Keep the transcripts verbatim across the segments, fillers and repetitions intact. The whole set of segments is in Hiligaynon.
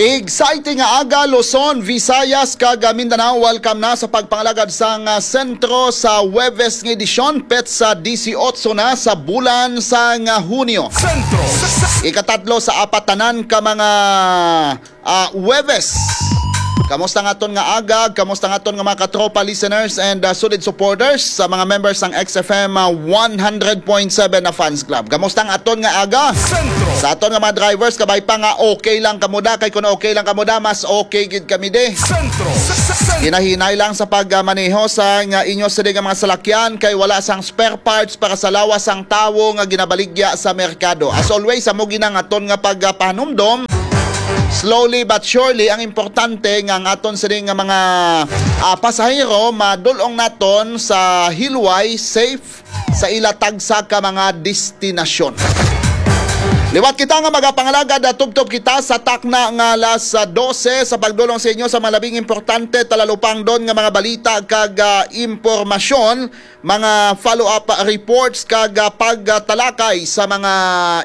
Exciting nga aga, Luzon, Visayas, kag, ah, Mindanao. Welcome na sa pagpangalagad sang, ah, sentro sa Huwebes nga edisyon, petsa disiotso na sa bulan sang, ah, Hunyo. Sentro. Ikatatlo sa apat tanan ka mga, ah, Huwebes. Kamusta nga aton nga aga? Kamusta nga aton nga mga katropa listeners and, ah, solid supporters sa mga members sang X F M, ah, one hundred point seven na fans club? Kamusta nga aton nga aga? Sentro. Sa aton nga mga drivers, kabay pa nga okay lang kamo da. Kay kung okay lang kamo da, mas okay gid kami di. Sentro. Hinahinay lang sa pagmaneho sa nga inyo sila nga mga salakyan kay wala sang spare parts para sa lawas sang tawo nga ginabaligya sa merkado. As always, amo gid ang aton nga pagpahanumdom. Slowly but surely, ang importante nga ang aton sini nga mga, ah, pasahero madul-ong naton sa hilway, safe sa ila tagsa ka mga destinasyon. Liwat kita nga magapangalagad, ah, tubtob kita sa takna nga alas, ah, dose sa pagdulong sa inyo sa mga labing importante, talalupangdon nga mga balita kag, ah, impormasyon, mga follow-up reports kag, ah, pagtalakay sa mga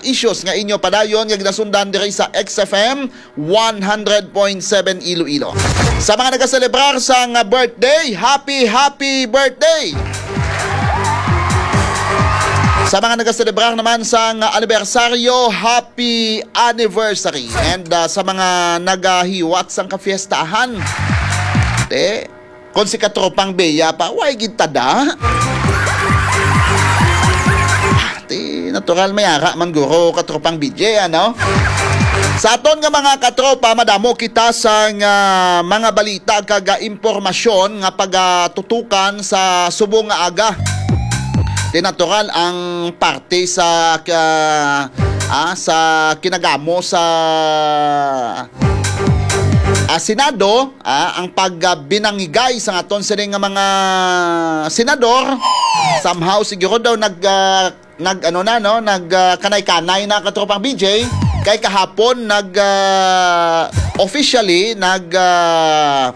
issues nga inyo padayon nga ginasundan diri sa X F M one hundred point seven Iloilo. Sa mga nagaselebrar sang birthday, happy, happy birthday! Sa mga nagaselebrar naman sang anibersaryo, happy anniversary! And, ah, sa mga nagahiwat sang kafiestahan, te, kung si Katropang Bea pa, way gid tada. Ah, ti, natural, may ara man guro, Katropang B J, ano? Sa aton nga mga katropa, madamo kita sa nga mga balita kag, ah, impormasyon nga pagatutukan sa subong nga aga. Ti, natural ang parte sa, ah, ah, sa kinagamo sa ah, Senado, ah, ang pagbinangigay sa aton sini nga mga senador, somehow siguro daw nag, ah, nag, ano na, no, nag, ah, kanay-kanay na, katropang B J, kay kahapon nag, ah, officially nag, ah,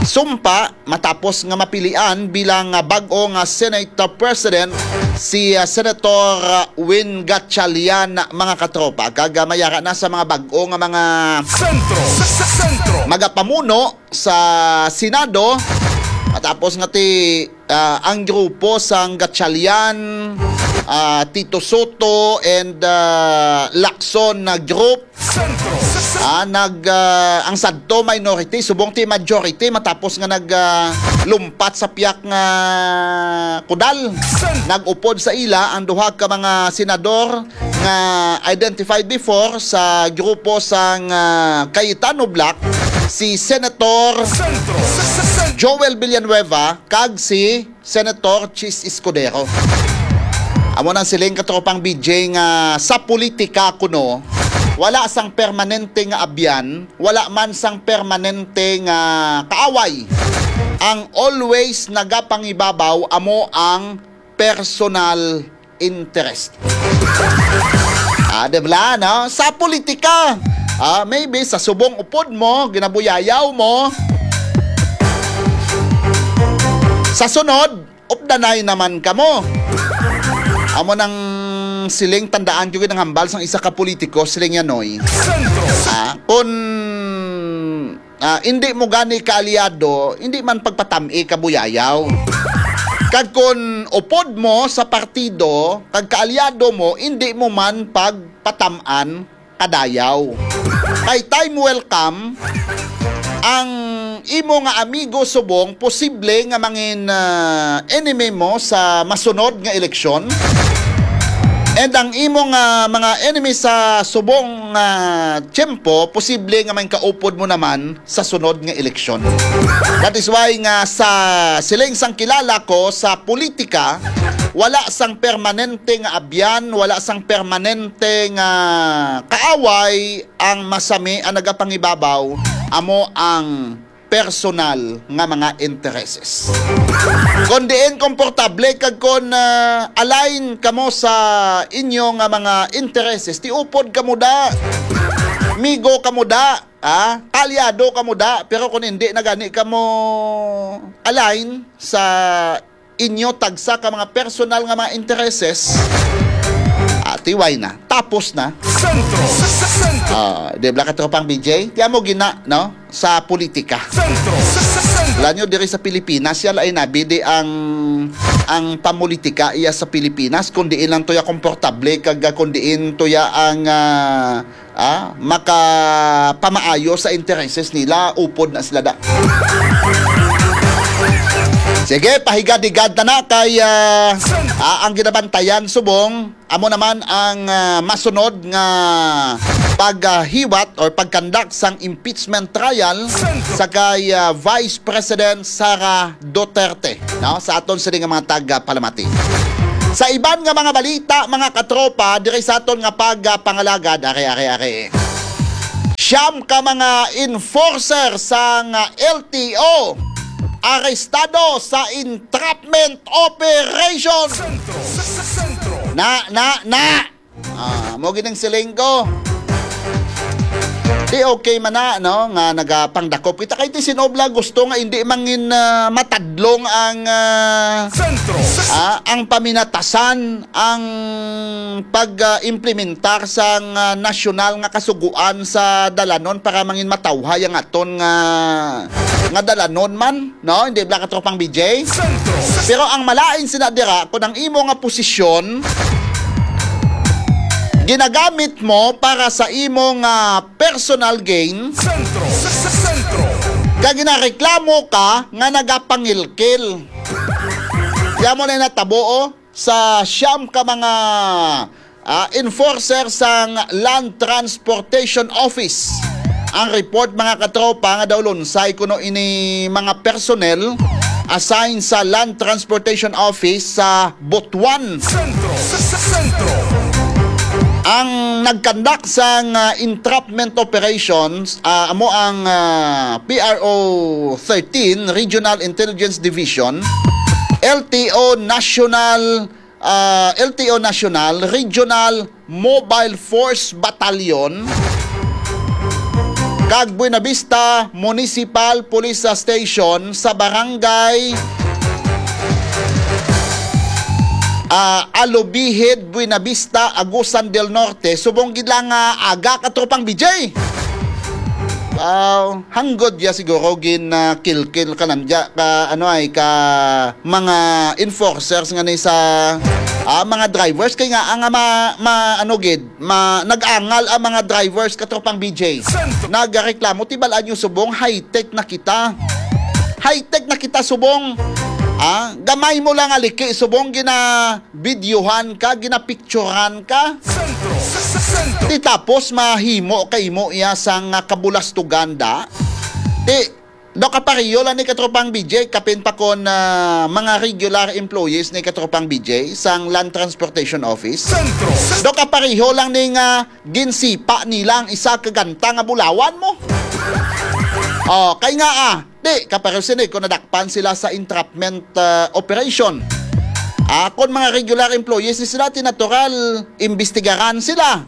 sumpa matapos nga mapilian bilang, ah, bag-o nga Senate President si, ah, Senator, ah, Win Gatchalian, mga katropa. Kag, ah, mayara na sa mga bag-o nga mga Sentro. Sentro. Magapamuno sa Senado. Matapos nga ti, ah, ang grupo sang Gatchalian, ah, Tito Sotto, and, ah, Lacson na group, Sentro. Ah, nag, ah, ang sadto minority, subong ti majority, matapos nga nag, ah, lumpat sa piyak nga kudal. Nag-upod sa ila ang duha ka mga senador nga identified before sa grupo sang, ah, Cayetano Bloc, si Senator Joel Villanueva kag si Senator Chiz Escudero. Amo nang siling, katropang B J, nga sa politika kuno, wala sang permanente nga abyan, wala man sang permanente nga kaaway. Ang always nagapangibabaw amo ang personal interest. Ah, di ba, no? Sa politika, ah, maybe sa subong upod mo, ginabuyayaw mo. Sa sunod, updanay naman kamo. Amo nang siling, tandaan ko gid ang hambal sang isa ka politiko, siling niya, Noy. Ah, kun, ah, hindi mo gani kaalyado, hindi man pagpatam-i, kabuyayaw. Kag kun upod mo sa partido, kag kaalyado mo, hindi mo man pagpatam-an, kadayaw. Kay time will come, ang imo nga amigo subong posible nga mangin, ah, enemy mo sa masunod nga eleksyon. And ang imo nga mga enemy sa subong nga tiyempo, posible nga mangin kaupod mo naman sa sunod nga eleksyon. That is why nga sa siling sang kilala ko sa politika, wala sang permanente nga abyan, wala sang permanente nga kaaway. Ang masami, ang nagapangibabaw, amo ang personal nga mga intereses. Kon diin komportable kag kon, ah, align kamo sa inyo nga mga intereses, ti upod kamo da, migo kamo da, ah, kaalyado kamo da, pero kung hindi na gani kamo align sa inyo tagsa ka mga personal nga mga intereses, ah, Tiway na. Tapos na. Sentro. Sentro. Ah, di ba, katropang B J? Tiyan mo gina, no? Sa politika. Sentro. Sentro. Alam nyo, diri sa Pilipinas, yan ay nabidi ang, ang pamulitika iya sa Pilipinas, kung diin lang to ya komportable, kag kung diin to ya ang, ah, ah, makapamaayo sa intereses nila, upod na sila da. Sige, pahigad-higad na na kay, ah, ah, ang ginabantayan subong, amo naman ang, ah, masunod nga paghiwat or pagkandak sang impeachment trial sa kay, ah, Vice President Sara Duterte, no? Sa aton sini nga mga tagapalamati. Sa iban nga mga balita, mga katropa, diri sa aton nga pagpangalagad, are, are, are. Siyam ka mga enforcer sang L T O arestado sa entrapment operation. Sentro. Sentro. Na, na, na. Ah, mo gining siling ko. Di okay man na, no, nga nagapangdakop kita kay ti sinobla gusto nga hindi mangin, ah, matadlong ang, ah, Sentro. Ah, ang paminatasan, ang pag, ah, implementar sang, ah, nasyonal nga kasugoan sa dalanon para mangin matawhay ang aton nga, nga dalanon man, no? Hindi ba, katropang B J? Sentro. Pero ang malain sina dira, kung ang imo nga posisyon ginagamit mo para sa imo nga personal gain, Sentro. Sentro. Kag ginareklamo ka nga nagapangilkil. Kaya mo na natabo, oh, sa siyam ka mga, ah, enforcer sang Land Transportation Office. Ang report, mga katropa, nga daw lunsay kuno ini mga personnel assigned sa Land Transportation Office sa Butuan. Sentro. Sentro. Ang nagkandak sang, ah, entrapment operations, ah, amo ang, ah, P R O thirteen Regional Intelligence Division, L T O National, ah, L T O National Regional Mobile Force Battalion, kag Buenavista Municipal Police Station sa barangay, ah, Alubihid, Buenavista, Agusan del Norte, subong gid lang nga aga, katropang B J. Wow, hanggod ya siguro gin, ah, kilkil ka nandya ka, ano ay, ka mga enforcers nga ni sa, ah, mga drivers kay nga ang ma, ma, ano gid, ma, nag-angal ang mga drivers, katropang B J. Nagareklamo, tibalaan nyo subong, high-tech na kita. High-tech na kita subong. Ah, gamay mo lang aliki subong, ginabidyohan ka, ginapicturan ka. Sentro. Sentro. Di tapos mahimo kay mo iya sang, ah, kabulastugan da. Di, do kapareho lang ni katropang B J, kapin pa kon, ah, mga regular employees ni katropang B J sang Land Transportation Office. Sentro. Do kapareho lang ni nga ginsipa nila ang isa ka ganta nga bulawan mo. Oh, kay nga, ah, di, kapareho sini kung nadakpan sila sa entrapment, ah, operation. Ah, kung mga regular employees ni sila, ti natural, imbestigaran sila.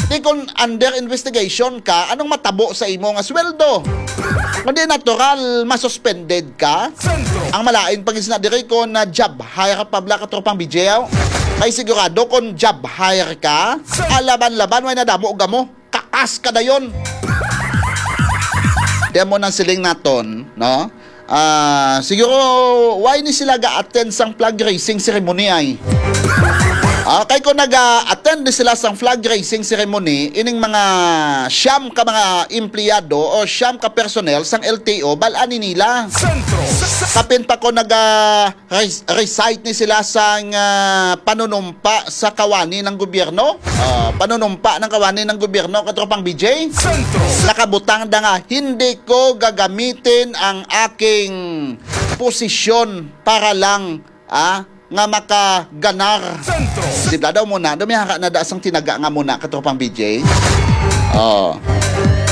Di kung under investigation ka, anong matabo sa imo nga sweldo? Kundi natural, masuspended ka. Sentro. Ang malain pa gid sina diri kung na job hire pa bala, katropang B J, aw. Kay sigurado kung job hire ka, alaban-laban, way nadamo gamo. Kakas ka dayon. Di mo nang siling naton, no? Ah, siguro, why ni sila ga-attend sang flag raising ceremony ay? Ah, kay kung naga-attend ni sila sang flag raising ceremony, ining mga siyam ka mga empleyado o siyam ka personnel sang L T O, bal-an ni nila. Sentro. Kapin pa ko naga res-, recite ni sila sang, ah, panunumpa sa kawani ng gobyerno. Ah, panunumpa ng kawani ng gobyerno, katropang B J. Sentro. Nakabutang na nga, "Hindi ko gagamitin ang aking posisyon para lang, ah, nga makaganar." Sentro. Di ba daw muna, dumihara na da sang tinaga nga muna, katropang B J. Oh.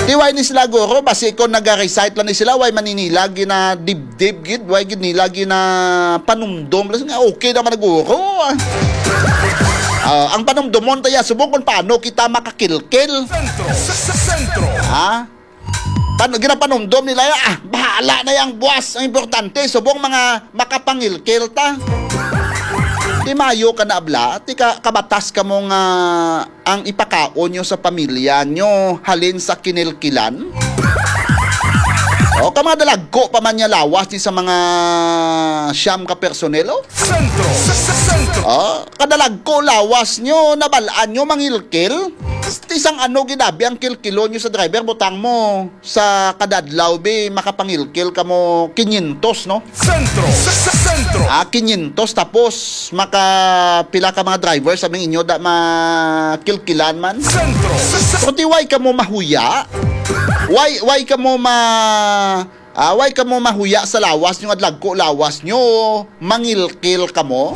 Di why ni sila guro, basi kung naga-recite lang ni sila, why maninilag na dib-, Dib gid, way gid nila ginapanumdom. Lasing nga, okay naman naguro. Ah, ang panumdomon ta ya, subong kung paano kita makakilkil. Sentro. Sentro. Ha? Pan-, ginapanumdom nila ya, ah, bahala na yang buwas. Ang importante, subong mga makapangilkil ta. Di mayo ka na abla, ti ka, kabatas ka mo nga ang ipakaon nyo sa pamilya nyo halin sa kinilkilan? O, ka mga dalagko pa man niya lawas ni sa mga siyam ka personel, o? Sentro! Sentro! O, kadalagko lawas nyo, nabalaan nyo, mangilkil? Ti sang ano ginabi ang kilkilon nyo sa driver, butang mo sa kadadlaw, bi, makapangilkil ka mo kinyentos, no? Sentro! Sentro! Ah, kinyentos, tapos maka pila ka mga driver sa inyo da makilkilan man? Sentro! Pero ti why ka mo mahuya? Why, why ka mo ma-, ah, why ka mo mahuya sa lawas nyo, nga dlagko lawas nyo, mangilkil ka mo?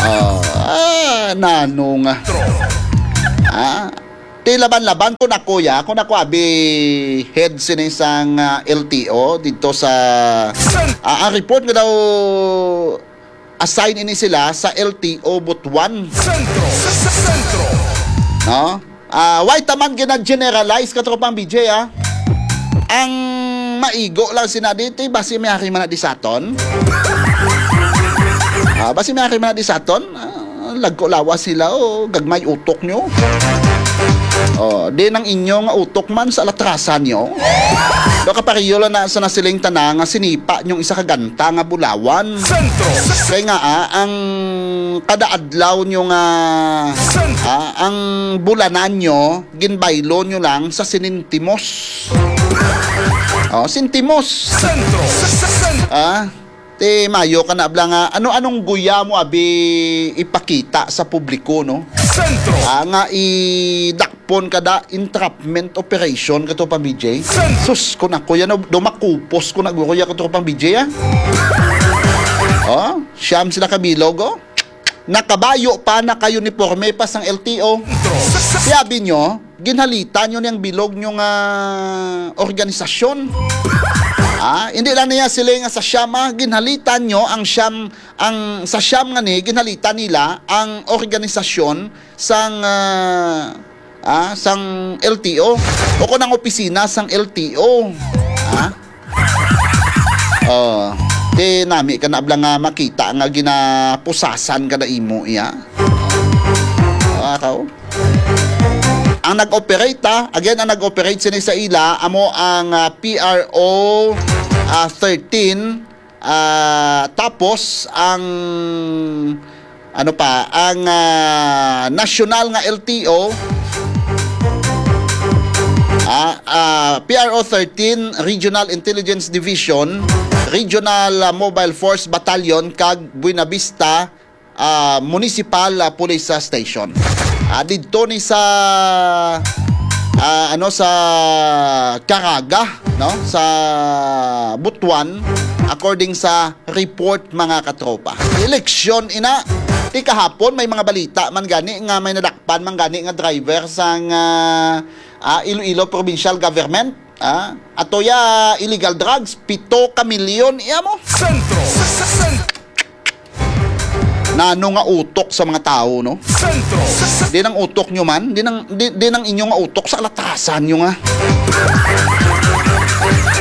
Ah, ah, nano nga. Ah, ti laban-laban ko na, kuya, kung ako abi head sini sang, ah, L T O dito sa, ah, ang report nga daw assign ini sila sa L T O Butuan. Sentro! Sentro! No? Ah, why taman gina-generalize, katropang B J, ah? Ang maigo lang sina dito, basi may ari man na di saton. Ah, basi may ari man na di saton. Ah, lagko lawas sila, o gagmay utok nyo. O, di nang inyo nga utok man sa alatrasan nyo. Do kapareho lang na sa nasiling tana nga sinipa nyong isa ka ganta nga bulawan. Sentro! Kay nga, ah, ang kada adlaw nyo nga, ah, ang bulanan nyo, ginbaylo nyo lang sa sinintimos. O, sintimos. Sentro! Sentro! Ah, ti mayo ka na abla nga ano-anong guya mo abi ipakita sa publiko, no? Sentro! Ah, nga idakpon ka da entrapment operation, katropang B J. Sentro! Sus, kung ako yan, no, do makupos ko na guro yan, katropang B J, ah. O, siyam sila ka bilog, o. Nakabayo pa, naka-uniforme pa sang L T O. Siyabi nyo, ginhalitan nyo niyang bilog nyo nga organisasyon. Ah, hindi lang niya sila nga sa siyam, ah, ginhalitan nyo ang siyam, ang sa siyam nga ni, ginhalitan nila ang organisasyon sang, ah, ah, sang L T O o kung ang opisina sang L T O. Ah? Oh, ti nami ka na abla nga makita nga ginapusasan ka na imo iya. Ah, kaw? Ang nag-operate, ah, again, ang nag-operate sini sa ila, amo ang, ah, P R O, ah, thirteen, ah, tapos ang, ano pa, ang, ah, nasyonal nga L T O, ah, ah, P R O thirteen, Regional Intelligence Division, Regional, ah, Mobile Force Battalion, kag Buenavista, ah, Municipal, ah, Police, ah, Station. Ah, didto ni sa, ah, ano, sa Caraga, no? Sa Butuan, according sa report, mga katropa. Eleksyon ina. Ti kahapon may mga balita man gani nga may nadakpan man gani nga driver sang, ah, ah, Iloilo Provincial Government. Ah, ato ya illegal drugs, pito ka milyon iya mo. Sentro. Sen-, sen-, Nano nga utok sa mga tawo, no? Sentro. Di nang utok nyo man, di nang, di, di nang inyo nga utok sa kalatasan nyo nga.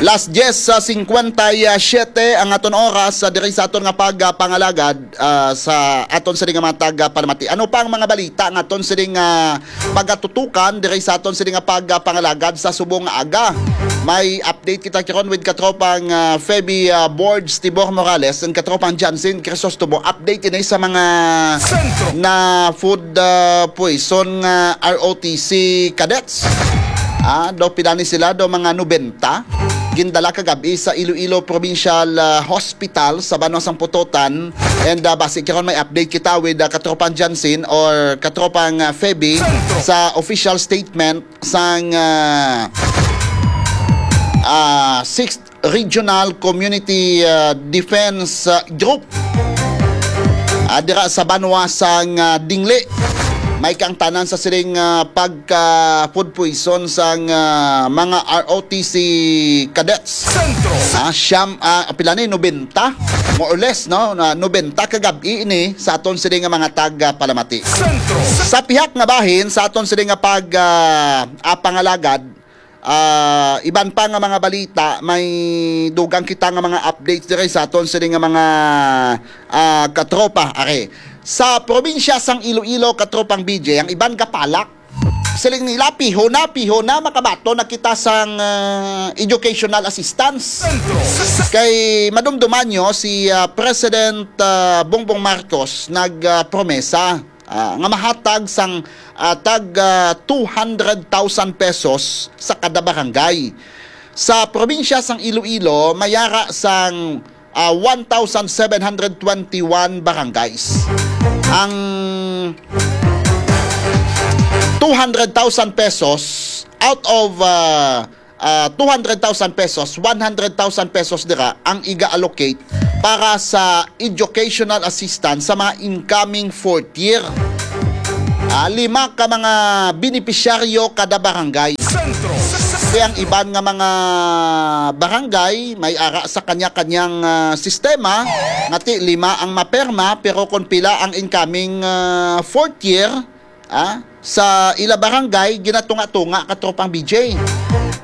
Las diez sa cincuenta y siete ang aton oras sa diri sa aton nga pagpangalagad, ah, sa aton sini nga mga taga Palamati. Ano pa ang mga balita nga aton sini nga pagatutukan diri sa aton sini nga pagpangalagad sa subong nga aga? May update kita karon with katropang, ah, Feby, ah, Borge Tibor Morales and katropang Jansen Crisostomo. Update ini sa mga Sentro. Na food, ah, poison nga R O T C cadets. Ah, daw pila ni sila, daw mga nobenta. Gindala kagabi sa Iloilo Provincial, ah, Hospital sa Banwa sang Pototan. And, ah, basi karon may update kita with, ah, katropang Jansen or katropang, ah, Feby Sentro. Sa official statement sang, ah, ah, sixth Regional Community, ah, Defense, ah, Group, ah, dira sa banwa sang, ah, Dingli. May kaangtanan sa sining, ah, pagka food poison sang, ah, mga R O T C cadets. Sentro. Ah, siyam, ah, pila ni? Nobenta? More or less, no? Na nobenta kagabi ini sa aton sini nga mga taga Palamati. Sentro. Sa pihak nga bahin, sa aton sini nga pag, ah, ah, pangalagad, Ah, iban pa nga mga balita, may dugang kita nga mga updates diri sa aton sini nga mga, ah, katropa. Are, sa probinsya sang Iloilo, katropang B J, ang iban gapalak. Siling nila, "Piho na, piho na, makabaton na kita sang, ah, educational assistance." Kay madumduman nyo, si, ah, President, ah, Bongbong Marcos nag, ah, promesa, ah, nga mahatag sang, ah, tag, ah, two hundred thousand pesos sa kada barangay. Sa probinsya sang Iloilo, may ara sang, ah, one thousand seven hundred twenty-one barangays. Ang two hundred thousand pesos out of, ah, ah, two hundred thousand pesos, one hundred thousand pesos dira ang iga-allocate para sa educational assistance sa mga incoming fourth year. Ah, lima ka mga benepisyaryo kada barangay. Sentro. Kaya ang iban nga mga barangay may ara sa kanya-kanyang, ah, sistema, nga ti lima ang maperma, pero kung pila ang incoming, ah, fourth year, ah, sa ila barangay, ginatunga-tunga, katropang B J.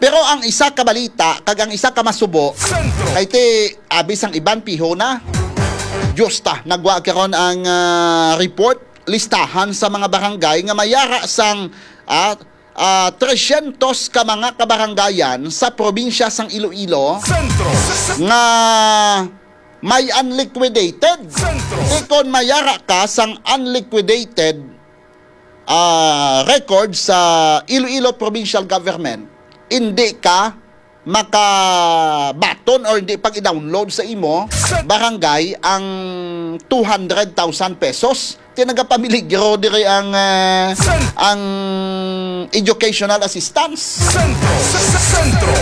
Pero ang isa ka balita kag ang isa ka masubo, kay ti abi sang iban piho na. Diyos ta, nagwa karon ang, ah, report, listahan sa mga barangay nga may ara sang, ah, ah, tresyentos ka mga kabarangayan sa probinsya sang Iloilo nga may unliquidated. Ti kon may ara ka sang unliquidated, ah, record sa Iloilo Provincial Government, hindi ka makabaton or hindi pag i-download sa imo barangay ang two hundred thousand pesos. Ti nagapamiligro diri ang, ah, ang educational assistance. Sentro. Sentro.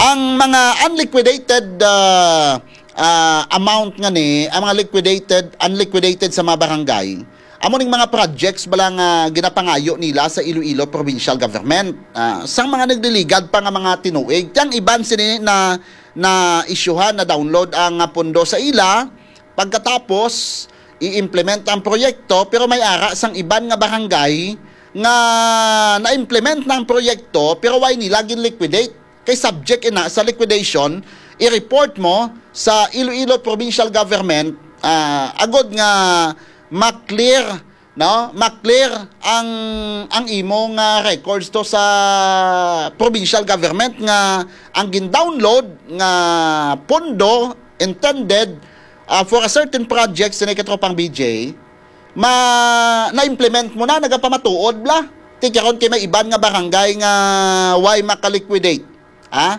Ang mga unliquidated, ah, ah, amount nga ni, ang mga liquidated, unliquidated sa mga barangay, amo ning mga projects bala nga ginapangayo nila sa Iloilo Provincial Government, ah, sang mga nagliligad pa nga mga tinuig. Ti ang iban sini na, na-isyuhan, na-download ang, ah, pondo sa ila. Pagkatapos, i-implement ang proyekto, pero may ara sang iban nga barangay nga na-implement na ang proyekto, pero way nila gin-liquidate. Kay subject ina sa liquidation, i-report mo sa Iloilo Provincial Government, ah, agod nga ma-clear, no? Ma-clear ang, ang imo nga records to sa provincial government nga ang gin-download nga pondo intended, ah, for a certain project, sini katropang B J, ma-, na-implement mo na, nagapamatuod bla. Ti karon kay may iban nga barangay nga way maka-liquidate. Ha?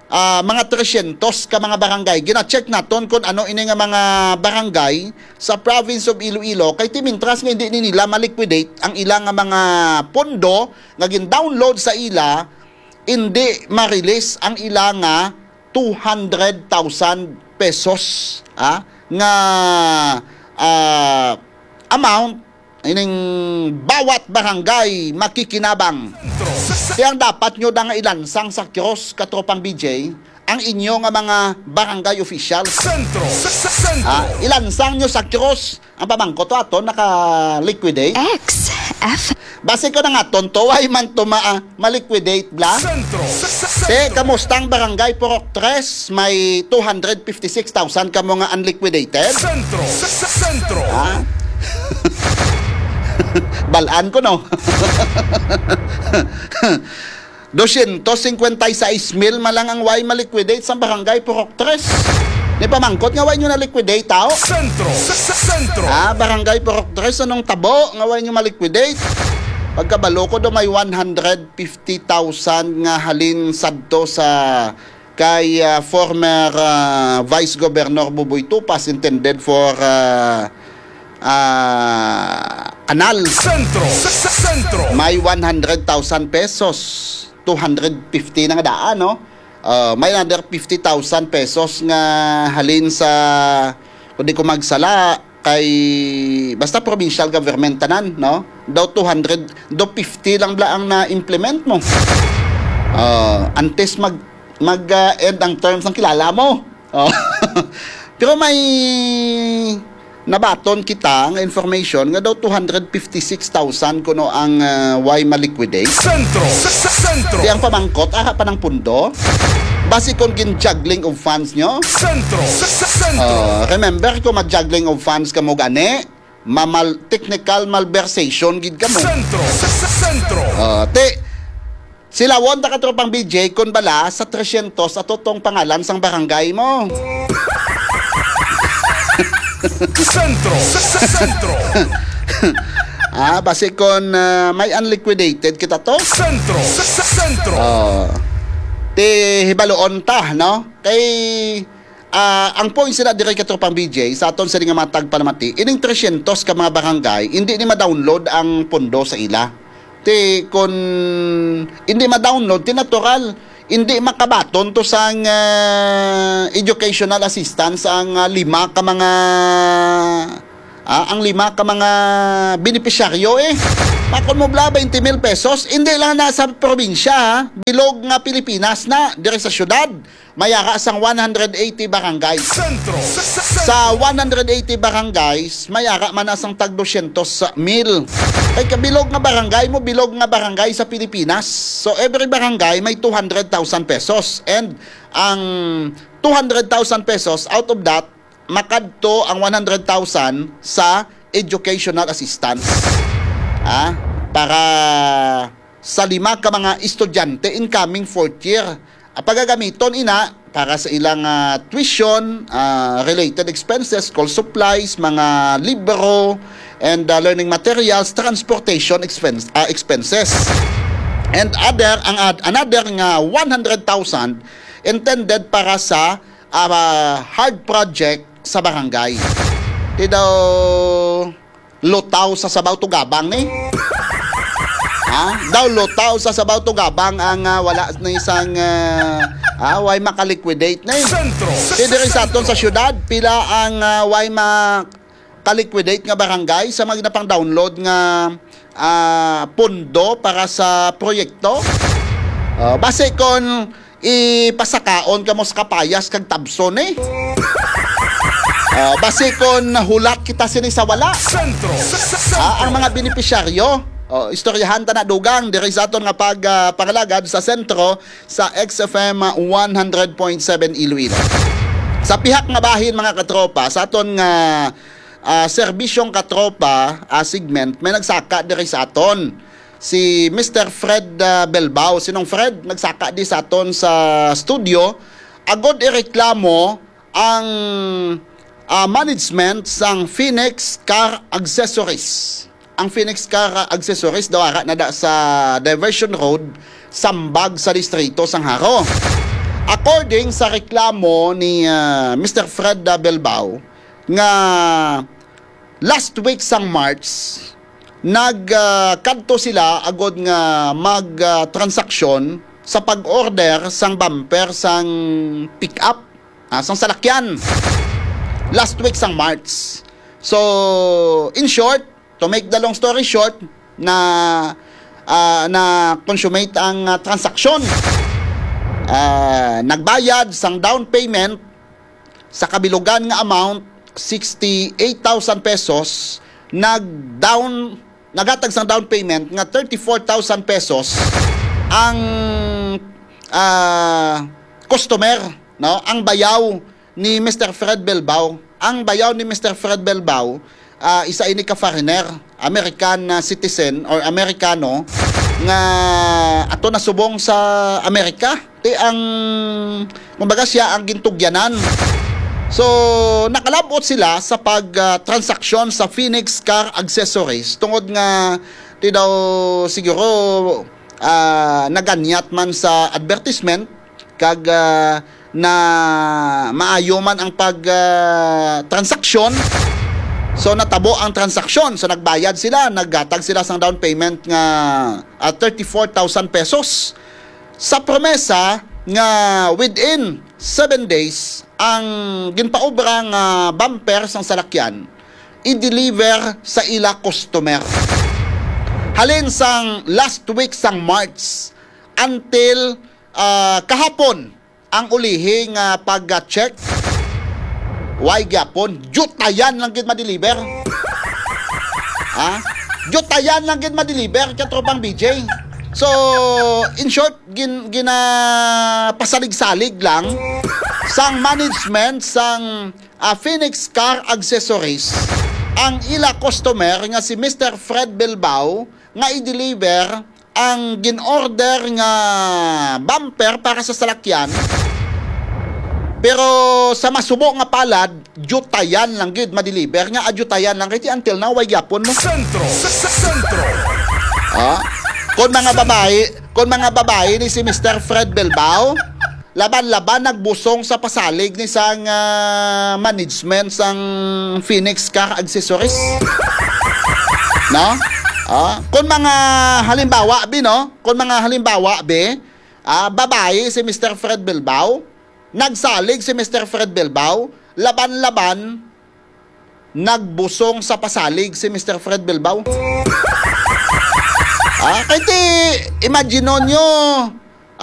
Ah, mga tresyentos ka mga barangay. Gina-check naton kung ano ini nga mga barangay sa province of Iloilo. Kay ti mintras nga hindi ni nila ma-liquidate ang ila nga mga pondo nga gin-download sa ila, hindi ma-release ang ila nga two hundred thousand pesos, ah, nga, ah, amount ining bawat barangay makikinabang. Kaya ang dapat nyo na nga ilansang sa cross, katropang B J, ang inyo nga mga barangay officials. Sentro. Sentro. Ah, ilansang nyo sa cross. Ang pamangkot to aton naka-liquidate. X F. Basi ko na nga, tonto, way man to ma-, ah, ma-liquidate bla. Sentro. Te, kamusta ang barangay Purok Tres? May two hundred fifty-six thousand kamo nga unliquidated? Sentro. Sentro. Ha? Balaan ko, no? Dosyentos singkwenta y seis mil man lang ang way ma-liquidate sa barangay Purok Tres. Ni pamangkot nga way nyo na-liquidate, tao? Sentro. Sentro. Ah, barangay Purok Tres, anong tabo nga way nyo ma-liquidate? Pagkabalo ko do, may one hundred fifty thousand nga halin sadto sa kay, ah, former, ah, Vice Governor Buboy Tupas, intended for, ah, ah, kanal. Sentro. Sentro. May one hundred thousand pesos, two hundred fifty na nga daan, no? Ah, may another fifty thousand pesos nga halin sa, kung di ko magsala, kay basta provincial government tanan, no? Daw two hundred, daw fifty lang bla ang na-implement mo. Ah, antes mag, mag, ah, end ang terms ng kilala mo. Oh. Pero may nabaton kita nga information nga daw two hundred fifty-six thousand kuno ang, ah, way ma-liquidate. Sentro. Sentro. Ang pamangkot, ara pa nang pundo? Basi kon gin-juggling of funds nyo? Sentro. Sa, sa, sentro. Oh, remember, kung mag-juggling of funds ka mo gani, mamal-, technical malversation gid ka mo. Sentro. Sa, sa, sentro. Oh, te, silawon ta, katropang B J, kon bala sa tresyentos ato tong pangalan sang barangay mo. Sentro. Sa, sa, sentro. Ah, basi kon, ah, may unliquidated kita to? Sentro. Sa, sa, sentro. Oh. Ti hibaluon ta, no? Kay, ah, ang point sila diri, katropang B J, sa aton sini nga mga tagpanamati, ining tresyentos ka mga barangay, hindi ni ma-download ang pondo sa ila. Ti, kun hindi ma-download, ti natural, hindi makabaton to sang, ah, educational assistance ang, ah, lima ka mga, ah, ang lima ka mga benepisyaryo, eh. Makon mo bala, twenty mil pesos, hindi lang na sa probinsya, ha. Bilog nga Pilipinas na, diri sa syudad. May ara sang one hundred eighty barangay. Sentro. Sa, sa, sa, sa one hundred eighty barangays, may ara man na sang tag dosyentos mil. Kay kabilog nga barangay mo, bilog nga barangay sa Pilipinas. So, every barangay may two hundred thousand pesos. And ang two hundred thousand pesos, out of that, makadto ang one hundred thousand sa educational assistance. Ah, para sa lima ka mga estudyante incoming fourth year. Ah, pagagamiton ina para sa ilang, ah, tuition, ah, related expenses, school supplies, mga libro, and, ah, learning materials, transportation expense, ah, expenses. And other, ang ad-, another nga one hundred thousand intended para sa, ah, hard project sa barangay. Di daw lutaw sa sabaw tugabang ni? Ha? Daw lutaw sa sabaw tugabang ang, ah, wala ni sang, ah, ah, way makaliquidate ni. Sentro. Di diri sa aton sa syudad, pila ang, ah, way makaliquidate nga barangay sa mga ginapang-download nga, ah, pondo para sa proyekto? Ah, basi kon ipasakaon kamo sa kapayas kag tabson, eh. Ah, basi kon hulat kita sini sa wala. Sentro. Sa, sa, Ah, ang sentro. Mga benepisyaryo, oh, istoryahan ta na dugang diri sa aton nga pag, ah, pangalagad sa sentro sa X F M one hundred point seven Iloilo. Sa pihak nga bahin, mga katropa, sa aton nga, ah, serbisyong katropa, ah, segment, may nagsaka diri sa aton. Si Mister Fred, ah, Belbao. Sinong Fred? Nagsaka di sa aton sa studio. Agod ireklamo ang, ah, management sang Phoenix Car Accessories. Ang Phoenix Car Accessories daw ara na da sa Diversion Road, Sambag sa Distrito sang Jaro. According sa reklamo ni, ah, Mister Fred, ah, Belbao, nga last week sang March, nag, ah, kadto sila agod nga mag, ah, transaksyon sa pag-order sang bumper sang pick-up, ah, sang salakyan last week sang March. So, in short, to make the long story short, na, ah, na consummate ang, ah, transaksyon. Ah, nagbayad sang down payment sa kabilugan nga amount, sixty-eight thousand pesos, nag-down, naghatag sang down payment nga thirty-four thousand pesos ang, ah, customer, no? Ang bayaw ni Mister Fred Belbao. Ang bayaw ni Mister Fred Belbao, ah, isa ini ka foreigner, American, ah, citizen or Amerikano nga ato nasubong sa Amerika. Ti ang, kumbaga, siya ang gintugyanan. So, nakalabot sila sa pag, ah, transaksyon sa Phoenix Car Accessories tungod nga ti daw siguro, ah, naganyat man sa advertisement kag, ah, na maayo man ang pag, ah, transaksyon. So, natabo ang transaksyon. So, nagbayad sila, naghatag sila sang down payment nga, ah, thirty-four thousand pesos. Sa promesa nga within seven days, ang ginpaobra nga bumper sang salakyan i-deliver sa ila customer. Halin sang last week sang March until, ah, kahapon, ang ulihi nga pag-check, way gyapon, diyutayan lang gid ma-deliver. Ha? Diyutayan lang gid ma-deliver, katropang B J. So, in short, gin, ginapasalig-salig lang sang management sang, ah, Phoenix Car Accessories ang ila customer nga si Mister Fred Bilbao nga i-deliver ang gin-order nga bumper para sa salakyan. Pero sa masubo nga palad, diyutayan lang gid ma-deliver, nga adjutayan lang kay ti until now way gyapon, no? Sentro. Sentro. Ah? Kon mga babae, kon mga babae ni si Mister Fred Bilbao, laban-laban nagbusong sa pasalig ni sang, ah, management sang Phoenix Car Accessories. No? Ah, kon mga halimbawa bi, no? Kon mga halimbawa bi, ah, babae si Mister Fred Bilbao, nagsalig si Mister Fred Bilbao, laban-laban nagbusong sa pasalig si Mister Fred Bilbao. Ah, kay ti, imagine nyo,